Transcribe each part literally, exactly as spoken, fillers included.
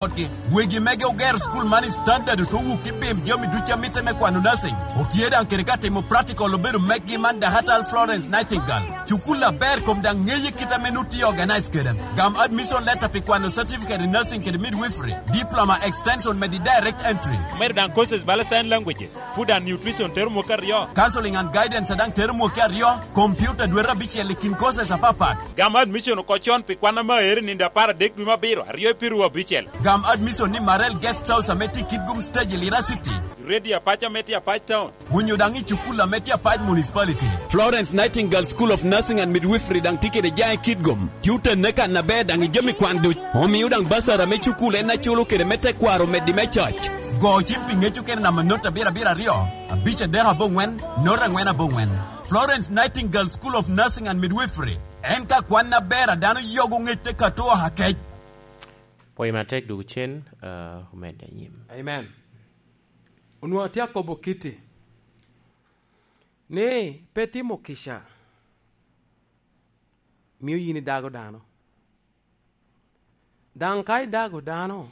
Otgi. Wegi mege ogero cukul man i standard, ote wuki bim jami ducu a mitte me kwano nursing. Otye daŋ kede ka timo practical obedo meggi man Dahatal Florence Nightingale. Cukul aber kom daŋ ŋeye kit ame nut tye organize kede. Gam admission letter pi kwano certificate in nursing kede midwifery, diploma extension medi direct entry. Omedo daŋ courses bala sign languages, food and nutrition tero mwaka aryo. Counseling and guidance daŋ tero mwaka aryo, computer dwete abicel i kin courses apapat. Gam admission oko con pi kwan ame aere nindo apar adek dwe me abiro, aryo i piru abicel. Gam admission ni Marel Guest House ame tye i Kitgum Stage i Lira City. Ready Apac ame tye Apac Town. Onyo daŋ i cukul ame tye Apac Municipality. Florence Nightingale School of Nursing and Midwifery daŋ tye kede jaŋ i Kitgum. Tye otenne kan aber daŋ i jami kwan duc. Omio daŋ basara me cukul en aculo kede me tekwaro meddi me coc. Go cim pi ŋec okene namba not abiro abiro aryo, abic adek aboŋwen, not angwen aboŋwen. Florence Nightingale School of Nursing and Midwifery. En ka kwan aber a dano yogo ŋec te kato oha kec. Pwoyo matek dwogo cen, ah, omedde anyim. Amen. Onwoŋo atye akobo kiti ni pe timo kica mio yin idago dano. Daŋ ka idago dano,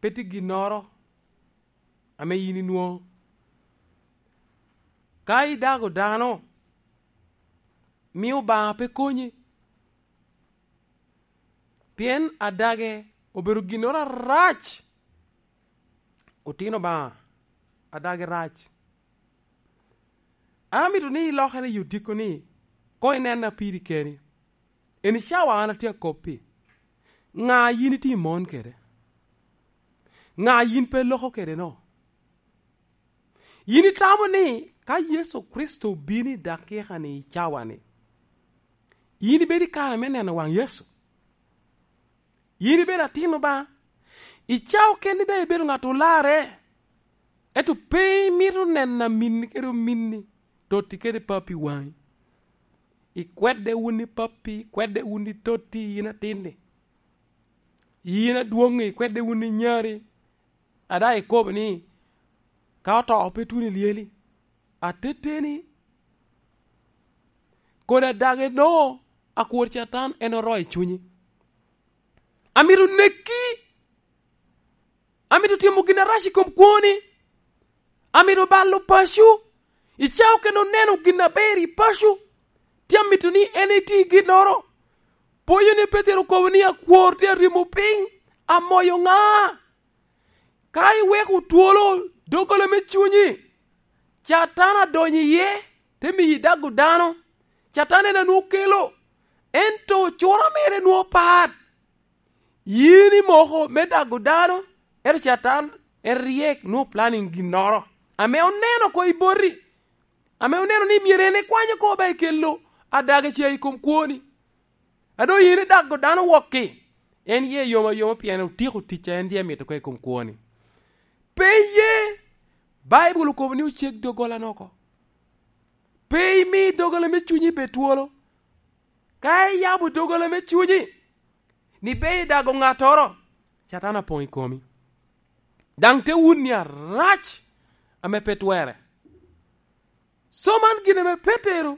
pe tye ginnoro ame yin inwoŋo. Ka idago dano, mio Obaŋa pe konyi. Pien adage obedo ginnoro arac. Otino Obaŋa, adage rac. An amito ni ilokere i odiko ni, koŋ inenna piri keni. Eni cawa an atye akoppi. Ŋa yin itye i mon kede? Ŋa yin pe iloko kede no? Yin itamo ni ka Yecu Kricito obino i dakika-ni, i cawa-ni, yin ibedo i kare me neno waŋ Yecu? Yin ibedo atin Obaŋa? I cawa keni daŋ ibedo ŋat olarre, ento pe imito neno aminni kede ominni, totti kede papi waŋi. Ikwedde wun i papi, ikwedde wun i totti, yin atinni. Yin adwoŋŋi, ikwedde wun i nyari. A daŋ ikobo ni, ka oto pe tuno i lyeli, ateteni, kodi adage no, akwor Catan en oro i cunyi. Amito neki, amito timo gin arac i kom kwoni, amito balo paco, i cawa kene oneno gin aber i paco, tye amito ni en iti ginnoro. Pwonyo ni Petero okobo ni, akwor tye aryemo piny, amoyo ŋa? Ka iweko twolo doggola me cunyi, Catan adonyo iye, te miyi dago dano. Catan en a nwoŋo kelo, ento cura mere nwoŋo pat. Yin imoko me dago dano, ento Catan en ryek, nwoŋo planning ginnoro ame oneno oko i boti, ame oneno ni myero en ekwany oko ba ekelo adage ca i kom kwoni. A doŋ yin idago dano wokki, en ye yom ayoma pien otyeko tic a en dye mito oko i kom kwoni. Pe iye, Baibul okobo ni oceg doggolane oko. Pe imi doggolane me cunyi bed twolo. Ka iyabo doggolane me cunyi, ni pe idago ŋattoro, Catan apoŋ i komi. Daŋ te wunni arac ame pe twerre. So man gin ame Petero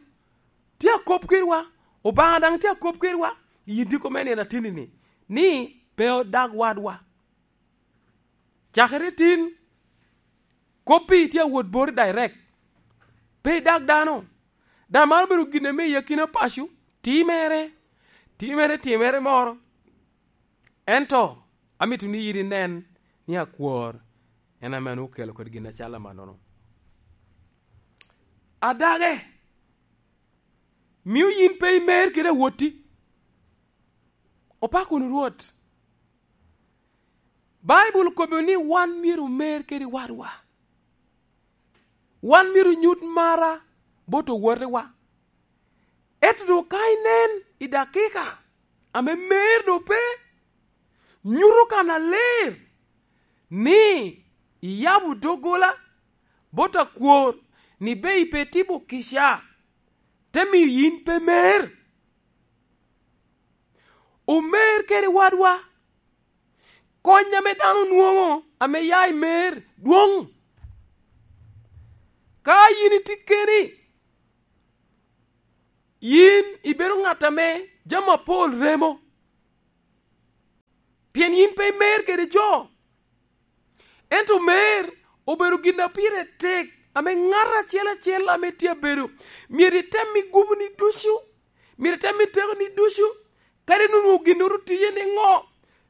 tye akop kedwa, Obaŋa daŋ tye akop kedwa i diko me nino ateni-ni, ni pe odag wadwa. Cakere tin, koppi tye awot boti direct. Pe idag dano. Daŋ man obedo gin ame i akina paco, timere, timere, timere moro. Ento amito ni yin inen ni akwor en ame nwoŋo okelo kodi gin acalo amannono. Adage, mio yin pe imer kede awotti. Opak wunu Rwot. Baibul okobo ni wan myero omer kede wadwa. Wan myero onyut mara bot owotewa. Ento doŋ ka inen i dakika ame mer doŋ pe, nyuto kannaler ni iyabo doggola bot akwor ni be ipe timo kica, te miyo yin pe mer. Omer kede wadwa. Kony ame dano nwoŋo ame ya i mer dwoŋ. Ka yin itye keni, yin ibedo ŋat ame jami apol remo. Imer kede jo. Ento mer obedo gin a pire tek, ame ŋat acel acel ame tye abedo myero item i guboni ducu, myero item i tekoni ducu, kadi nonwoŋo ginnoro tiye niŋo.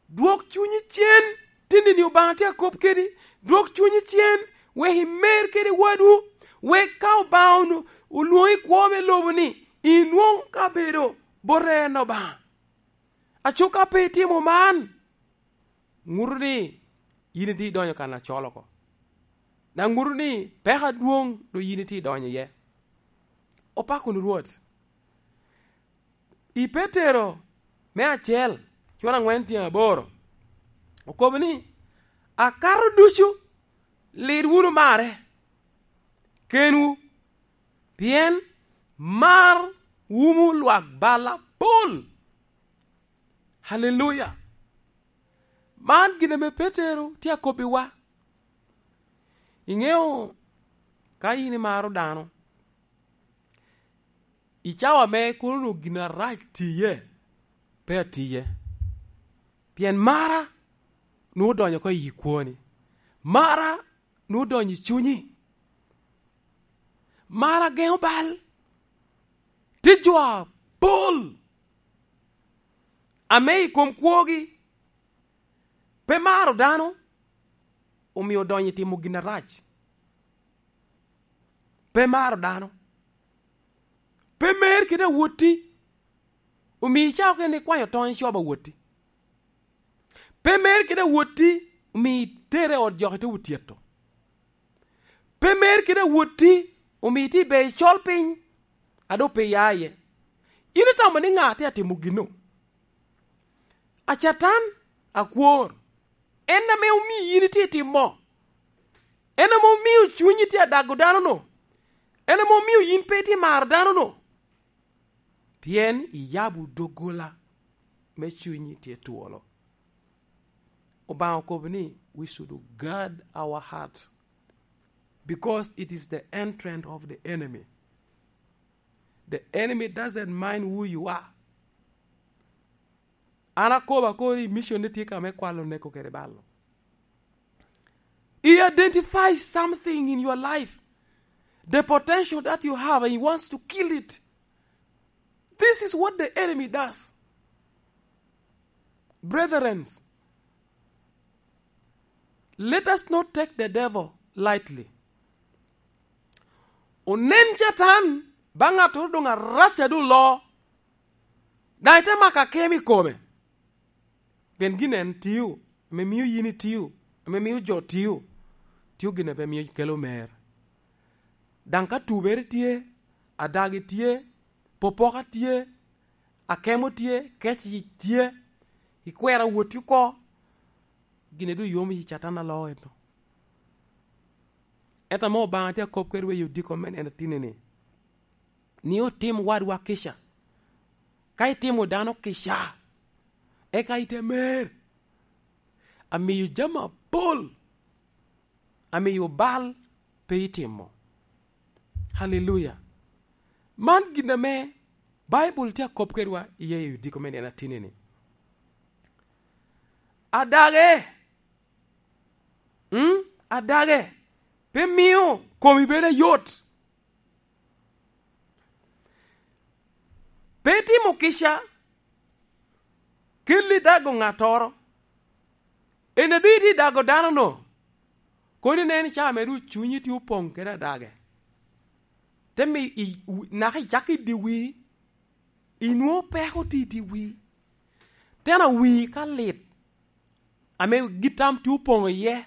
Dwok cunyi cen, tinni-ni Obaŋa tye akop kedi. Dwok cunyi cen, wek imer kede wadwu, wek ka Obaŋa onu-, olwoŋi i kwo me lobo-ni, inwoŋ kabedo bote en Obaŋa. Aco ka pe itimo man, ŋuto ni yin itye idonyo kan acol oko, daŋ ŋuto ni peko adwoŋ doŋ yin itye idonyo iye. Opako wunu Rwot. I Petero me acel, cura aŋwen tyen aboro, okobo ni, "Akato ducu, lit wunu marre kenwu, pien mar wumo lwak bal apol." Haleluya! Man gin ame Petero tye akobbiwa. Iŋeo, ka yin imaro dano, i cawa me kono onwoŋo gin arac tiye, pe atiye. Pien mara nwoŋo odonyo oko i kwoni. Mara nwoŋo odonyo i cunyi. Mara geŋo bal. Tye jo apol ame i kom kwogi pe maro dano, omio odonyo i timo gin arac. Pe maro dano. Pe mer kede awotti, omio icako kene ikwanyo tony icobo awotti. Pe mer kede awotti, omio itere i ot jok ite otyeto. Pe mer kede awotti, omio itye i ber icol piny, a doŋ pe iya iye. In itamo ni ŋa tye atimo gino? A Catan, akwor, en ame omio yin itye timo. En ame omio cunyi tye adago dano-nu. En ame omio yin pe itye maro dano-nu. Pien iyabo doggola me cunyi tye twolo. Obaŋa okobo ni, "We should guard our heart, because it is the entrance of the enemy." The enemy doesn't mind who you are. An akobo akori, mission ni tye ka me kwalo, neko kede balo. He identifies something in your life, the potential that you have, and he wants to kill it. This is what the enemy does. Brethren, let us not take the devil lightly. Onen Catan ba ŋattoro doŋ arac a doŋ loo, daŋ ite mako akemo i kome. Pien gin en tio, ame mio yin itio, ame mio jo tio, tio gin a pe mio kelo mer. Daŋ ka tubere tye, adagi tye, popoka tye, akemo tye, kec tye, ikwero awotti oko, gin a doŋ yomo yi Catan aloo ento. Ento ame Obaŋa tye akop kede wei odiko me neno atinni-ni, ni otim wadwa kica. Ka itimo dano kica, eka ite mer, amiyo jami apol, amiyo bal pe itimo. Haleluya! Man gin ame Baibul tye akop kedwa iye i odiko me nino atinni-ni. Adage, mm, adage, pe mio komi bedo ayot. Pe timo kica kelli dago ŋattoro. En a doŋ itye dago dano-nu, kono inen ca mere cunyi tye opoŋ kede adage. Te mi i, wi-, naka icak i dye wii, inwoŋo peko tye i dye wii. Tena wii ka lit, ame gin tam tye opoŋ iye,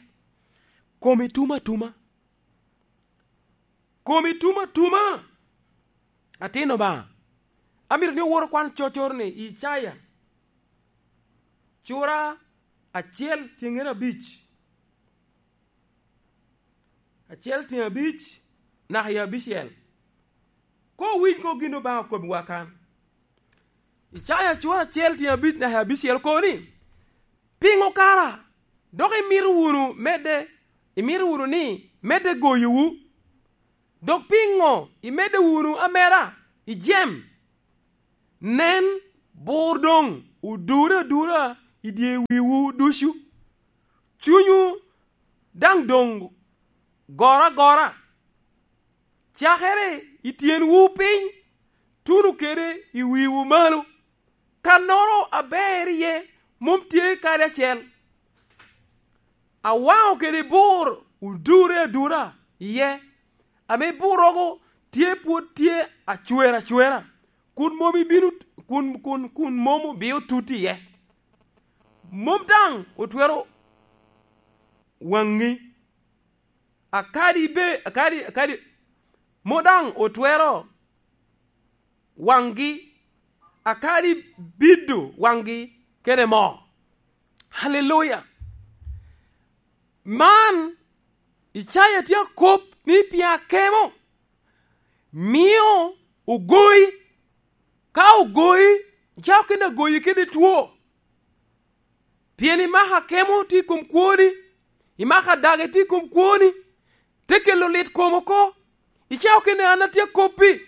komi tumo atuma. Komi tumo atuma. Atin Obaŋa, amito ni owot okwan cocoro-ni i Icaya, cura acel tyeŋen abic. Acel tyeŋ abic, naka i abicel. Koŋ owiny koŋ gin Obaŋa okobbiwa kan. Icaya cura acel tyeŋ abic naka i abicel koŋ ni, "Piŋo kara dok imito wunu medde, imito wunu ni medde goyowu? Dok piŋo imedde wunu ameda i jem? Nen, bur doŋ odure adura i dye wiwu ducu. Cunywu daŋ doŋ goro agora, cakere i tyenwu piny, tuno kede i wiwu malo. Kannoro aber iye mom tye kadi acel. Awaŋo kede bur odure adura iye, ame burrogo tye pwod tye acwer acwera, kun mom ibino, kun, kun, kun mom obio tut iye. Mom daŋ otwero waŋi, akadi be, akadi, akadi, mom daŋ otwero waŋgi, akadi bido waŋgi kede moo. Haleluya! Man, Icaya tye akop ni pien akemo mio ogoyi. Ka ogoyi, icako kene agoyi kede two. Pien imako akemo tye i kom kwoni, imako adage tye i kom kwoni, te kelo lit kom oko. Icako kene an atye akoppi,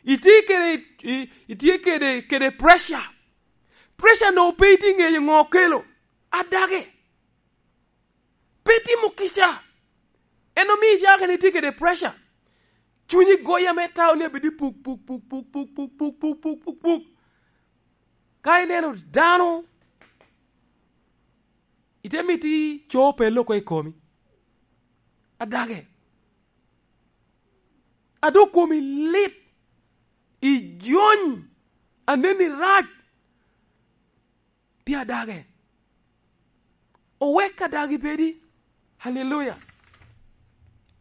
itye kede, i-, itye kede, kede pressure. Pressure no pe itye ŋeyo ŋo okelo. Adage. Pe timo kica. En omio icako kene itye kede pressure. Cunyi goyi ame tao ni abedi puk, puk, puk. Ka ineno dano, ite miti co pelo oko i komi. Adage. Ado komi lit. Ijony. Aneni rac. Pi adage. Owek adagi bedi. Haleluya.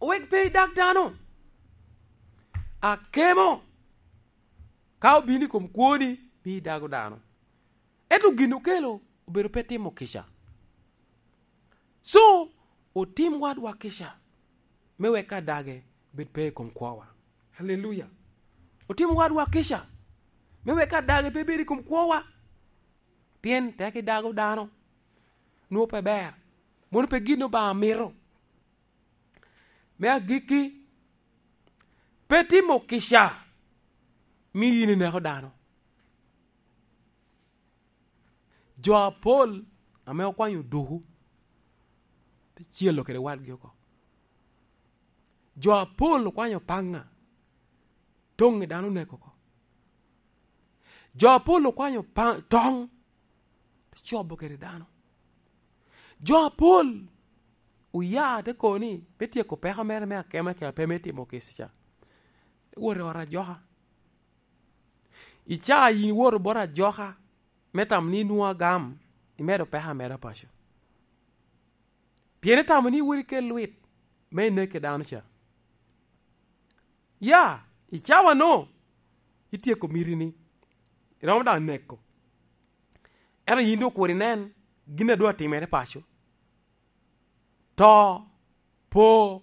Owek pe idag dano. Akemo. Ka obino i kom kwoni, mi idago dano. Ento gin okelo obedo pe timo kica. So, otim wadwa kica, me wek adage bed pe i kom kwowa. Haleluya. Otim wadwa kica, me wek adage pe bed i kom kwowa. Pien tek idago dano, nwoŋo pe ber. Mono pe gin Obaŋa mito. Me agikki, pe timo kica, mi yin ineko dano. Jo apol ame okwanyo oduku, te celo kede wadgi oko. Jo apol okwanyo paŋŋa, toŋ i dano oneko oko. Jo apol okwanyo pa-, toŋ, te cobo kede dano. Jo apol oya te kobo ni me tyeko peko mere me akemo kede pe me timo kica, te wot i ot ajoka. Icaa yin iwoto bot ajoka me tamo ni inwoŋo agam, imedo peko ameda paco. Pien itamo ni iwot ikel lwit me ineke dano ca. Ya, i cawa-nu, ityeko mitini, iromo daŋ neko. Ento yin doŋ okwero inen gin a doŋ atimere paco. To, po,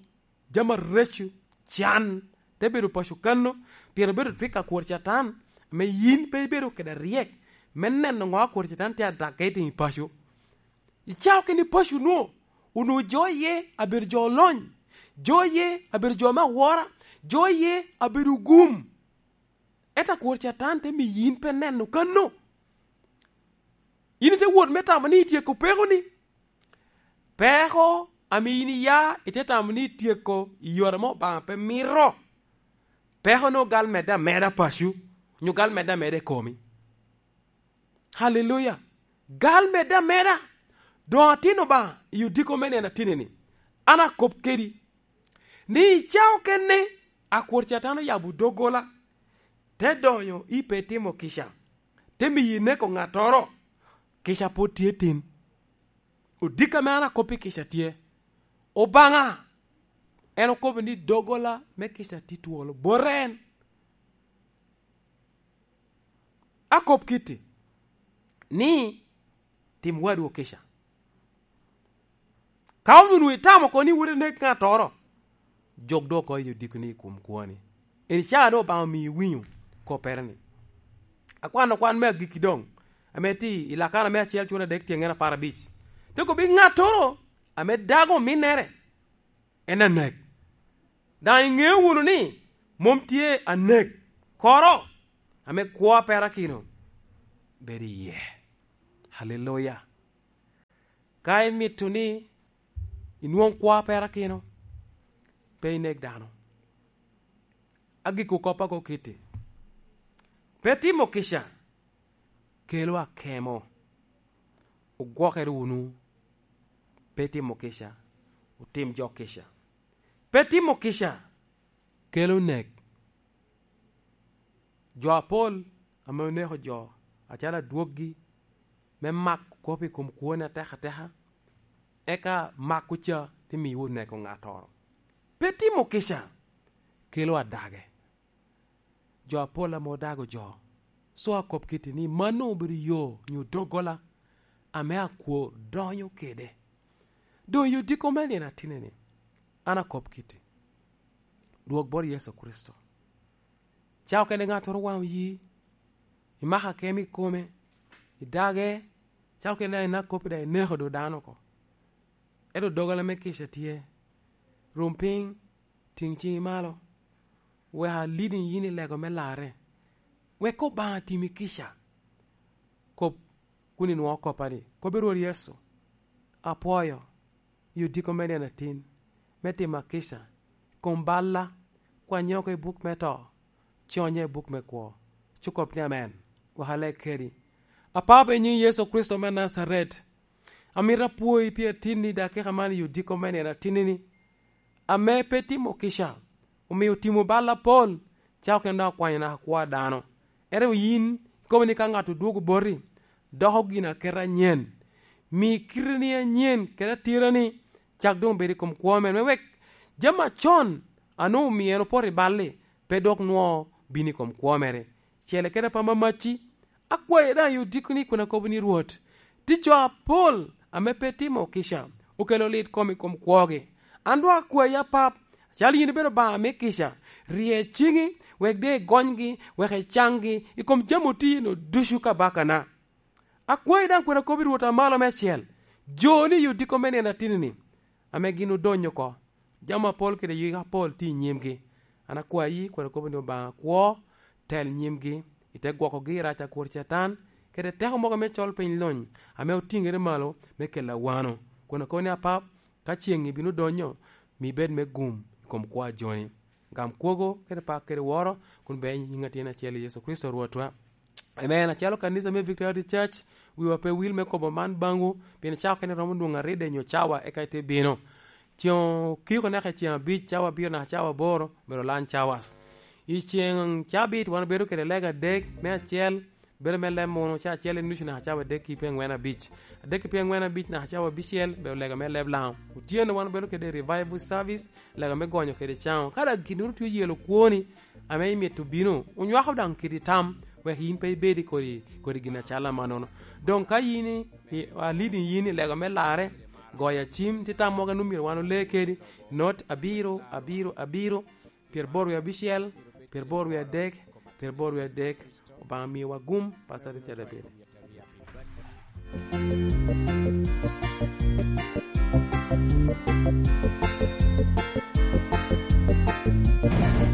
jami areco, can, te bedo paco kano, pien obedo twik akwor Catan, ame yin pe ibedo kede aryek me neno ŋo akwor Catan tye adagge i timi paco. Icao kene paco-nu, onwoŋo jo iye abedo jo olony, jo iye abedo jo me awora, jo iye abedo ogum. Ento akwor Catan te miyo yin pe neno kano. Yin ite wot me tamo ni ityeko peko-ni. Peko ame yin iya, ite tamo ni ityeko i yore ame Obaŋa pe mito. Peko-nu gal medde ameda paco, onyo gal medde ameda i komi. Haleluya! Gal medde ameda. Doŋ atin Obaŋa i odiko me nino ateni-ni, an akop kedi, ni i cawa okene akwor Catan oyabo doggola, te donyo i pe timo kica, te miyo ineko ŋattoro, kica pwod tye tin. Odiko ame an akop i kica tye, Obaŋa en okobo ni doggola me kica tye twolo, bote en. Akop kitti, ni tim wadwu kica. Ka onwoŋo itamo oko ni wot inek ŋattoro, jok doŋ oko i odiko-ni i kom kwoni. Eni caa doŋ Obaŋa omio iwinyo koppere-ni. Akwano kwan me agikki doŋ, ame tye i Lakana me acel cura adek tyeŋen apar abic. Te kobbi ŋattoro ame dago ominnere, en anek. Daŋ iŋeo wunu ni mom tye anek koro ame kwo a perakino bedo iye. Haleluya! Ka imito ni inwoŋ kwo a perakino, pe inek dano. Agikki kop ago kitti. Pe timo kica kelo akemo. Ogwokere wunu. Pe timo kica, otim jo kica. Pe timo kica kelo nek. Jo apol ame oneko jo acalo adwoggi me mako kop i kom kwone atekateka, eka mako ca te miyo oneko ŋattoro. Pe timo kica kelo adage. Jo apol ame odago jo, so akop kitti ni mano obedo yo nyo doggola ame akwo donyo kede. Doŋ i odiko me nino atinni, an akop kitti. Dwog bot Yecu Kricito. Ca okene ŋattoro waŋ oyi, imako akemo i kome, idage, ca okene daŋ inako kop daŋ ineko do dano oko. Ento doggola me kica tye. Rum piny, tiŋ ciŋi malo, wek alidi yin i lego me larre. Wek Obaŋa timi kica. Kop kun inwoŋo koppa ni, kop i Rwot Yecu, apwoyo, i odiko me nino atin, me timo akica, i kom balla, kwanye oko i buk me to, conye i buk me kwo. Cukop ni amen, wek aleg kedi. Apapa i nyiŋ Yecu Kricito me Najaret, amito apwoyi pi atinni dakika man i odiko me nino atinni-ni, ame pe timo kica, omio otimo bal apol, ca okene dok okwanyo naka kwo a dano. Ento yin ikobo ni ka ŋat odwogo boti, doko gin aketa anyen. Mi kiteni anyen kede atirani cak doŋ bedo i kom kwo mere, me wek jami acon a nwoŋo omio en opoto i bal-li pe dok nwoŋo bino i kom kwo mere. Cele kede apama macci, akwayi daŋ i odiko-ni kun akobo ni, Rwot, tye jo apol ame pe timo kica, okelo lit kom i kom kwogi. An dok akwayi, Apap, acalo yin ibedo Obaŋa me kica, rye ciŋi wek doŋ igonygi, wek icaŋgi i kom jami otiyi-nu ducu, kabakana. Akwayi daŋ kun akobo i Rwot a Malo Meicel, jo-ni i odiko me nino atinni-ni, ame gin odonyo oko. Jami apol kede yik apol tye i nyimgi. An akwayi, kwero kobo ni Obaŋa kwo, tel nyimgi, i te gwokogi i rac a kwor Catan, kede teko mogo me col piny lony, ame otiŋere malo me kelo awano. Kun akobo ni, Apap, ka ceŋ ibino donyo, mi bed me gum i kom kwo a joni. Gam kwogo kede pak kede woro, kun be i nyiŋ Atin acel Yecu Kricito Rwotwa. Amen. Acalo kanisa me Victory Baptist Church, wiwa pe wil me kobo man baŋwu, pien cawa kene romo nwoŋo aride nyo cawa eka ite bino. Ceŋ okiko naka i ceŋ abic, cawa abiro naka cawa aboro, obedo lunch hours. I ceŋ cabit wan obedo kede lega adek, me acel bedo me leb munu, ca acel i nucu naka cawa adek ki pi aŋwen abic. Adek ki pi aŋwen abic naka cawa abicel obedo lega me leb Laŋo. Otyeno wan obedo kede revival service, lega me gonyo kede caŋo. Ka daŋ ginnoro tye oyelo kwoni, ame imito bino, onywako daŋ kede tam, wek yin pe ibed i kodi, kodi gin acalo amannono. Doŋ ka yin i, i, alidi yin i lega me larre, goyo acim, tye tam mogo a nwoŋo myero wan ole kedi, not abiro, abiro, abiro, pyeraboro wie abicel, pyeraboro wie adek, pyeraboro wie adek. Obaŋa miwa gum, Pastor Richard Abel.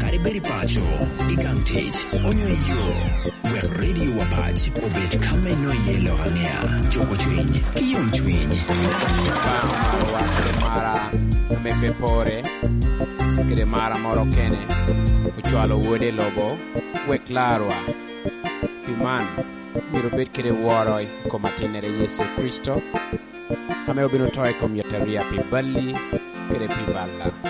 Kadi bed i paco, i gang tic, onyo i yo, wek Radio Wapac obed ka me nwoŋo iye lok aŋea, cuko cwiny, ki yom cwiny. Obaŋa omarowa kede mara ame pe pore, kede mara moro kene, ocwalo Wode i lobo, wek larwa. Pi man, myero obed kede woro i kom Atinnere Yecu Kricito, ame obino to i kom yataria pi balli kede pi balla.